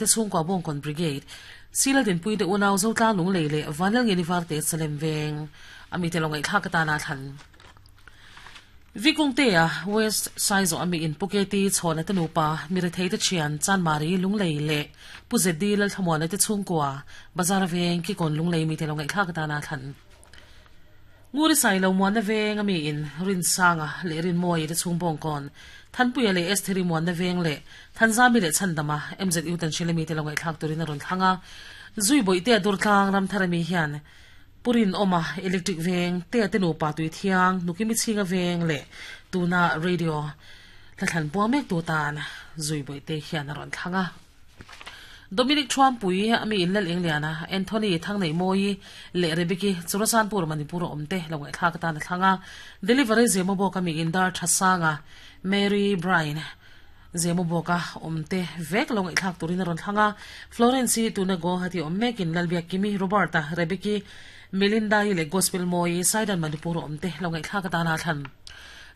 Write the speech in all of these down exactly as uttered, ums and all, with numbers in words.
Te chhungkua Bawngkawn Brigade, Sila Dinpui te unau Zotlang Lunglei leh Vanlal Ngeni Varte Salem Veng a mite lo ngaihthlak atana thlan. Vikungtea West Saizaw ami in Puketi chhawna te nupa Mirethei te thian Chanmari Lunglei leh Pu Zeddi Lalthlamuana te chhungkua Bazar Veng Kikawn Lunglei mite lo ngaihthlak atana thlan. Nguri sai lo muan na veng ami in Rin Sanga leh Rin Mawi te chhung Bawngkawn Thanpuia leh Estheri muan na veng leh Thanzami leh Chhandama M Z U tan Shilami te lo ngaihthlak turin a rawn thlang a. Zui bawih te a durtlang Ramtharami hian Purin awma electric veng te a te nupa tui thiang Nukimi chhinga veng leh tuna radio hla thlan puang mek tu tan zui bawih te hian a rawn thlang a. Dominic Trumpui ami in lal eng liana Anthony Thangnei Mawi leh Rebecca Churachandpur Manipur awm te lo ngaihthlak atan a thlang a. Delivery Zemo bawk ami in dar Thasanga Mary Bryan Zemo bawka awm te vek lo ngaihthlak turin a rawn thlang a. Florence tuna Guwahati awm mekin Lalbiak Kimi Roberta Rebecca Melinda leh Gospel Mawi Saidan Manipur awm te lo ngaihthlak atan a thlan.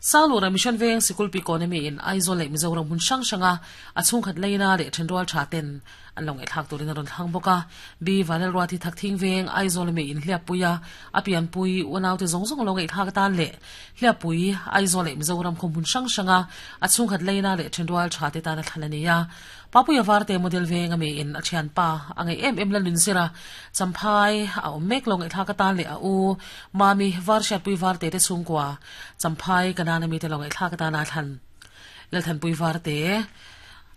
Sangluhra Mission Veng Sikul Economy in Aizawl leh Mizoram hmun hrang hranga a chhungkhat leina leh thenrual tha ten an lo ngaihthlak turin a rawn thlang bawk a. B Vanel Ruati Thakthing Veng Aizawl mi in Hliappuia a pianpui unau te zawng zawng lo ngaihthlak atan leh Hliappui Aizawl leh Mizoram khum hmun hrang hranga a chhungkhat leina leh thenrual tha te tan a thlan ani a. Papuia Varte Model Veng ami in a thian pa angai em em la lun zira champhai a awm mek lo ngaihthlak atan leh a u mami Varshatpui Varte te chhungkua champhai kanana mi te lo ngaihthlak atan a thlan. Lalthanpui Varte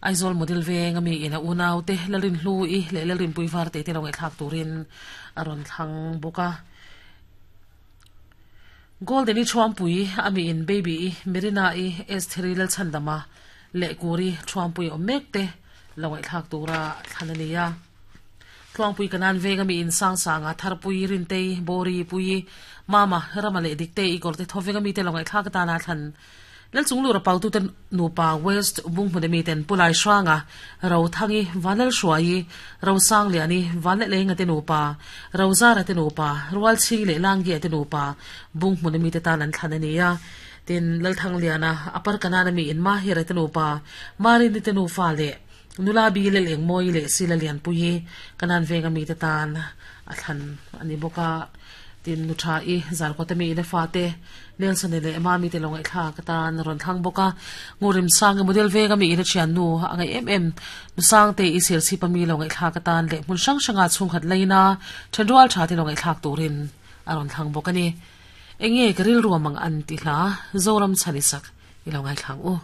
Aizawl Model Veng ami in a unau te lalrin hlu i leh lalrinpui Varte te lo ngaihthlak turin a rawn thlang bawk a. Golden i Thuampui ami in Baby i Mirina i Estheri Lalchhandama leh Kuri Thuampui awm mek te lo ngaihthlak tura thlan ani a. Tluangpui kanan veng ami in sang sanga Tharpui Rintei Bori Pui Mama Rama leh Dikte i Gorte thoveng ami te lo ngaihthlak atana thlan. Lalchunglura pautu ten nupa West Bunghmun ami ten Pulai Hranga Ro Thangi Vanlal Hruai Ro Sang Liani Vanle Lenga te nupa Ro Zara te nupa Rual Ching leh Langgi te nupa Bunghmun ami te tan an thlan ani a. Tin Lalthang Liana Upper Kanan ami in Mahira te nupa Marini te nufa leh Nula bi le leng mawi leh sila lian pui kanan veng ami te tan a thlan ani bawk a. Tin nu tha i zarkawt ami in a fa te Nelson leh mami te lo ngaihthlak atan rawn thlang bawk a. Ngurim Sang Model Veng ami in a thian nu angai em em nu sang te i sel chip ami lo ngaihthlak atan leh hmun hrang hranga chhungkhat leina thenrual tha te lo ngaihthlak turin a rawn thlang bawk ani. Enge ka ril ruamang an ti hla Zoram chhanisak i lo ngaihthlak u.